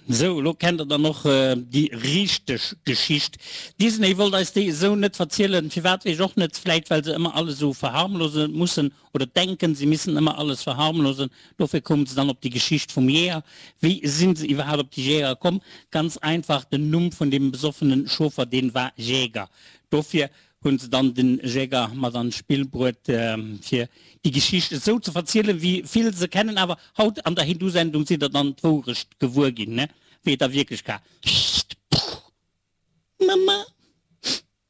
Sou, elo kennt der dann och déi richteg Geschicht. Disney wollt eis déi esou net verzielen. Firwat weess ech och net. Vläit well se ëmmer alles esou verharmlose mussen oder denken se missen ëmmer alles verharmlosen. Dofir koumen se dann op déi Geschicht vum Jäger. Wéi sinn se iwwerhaapt op déi Jäger komm? Ganz einfach, den Numm vun deem besoffenen Chauffer, deen war Jäger. Dofir hunn se dann den Jäger mat an d'Spill bruet fir déi Geschicht esou ze verzielen wéi vill se kennen. Awer haut an der Hindu-Sendung sidd der dann d'Wourecht gewuer ginn, ne, wéi et a Wierklechka. Mama.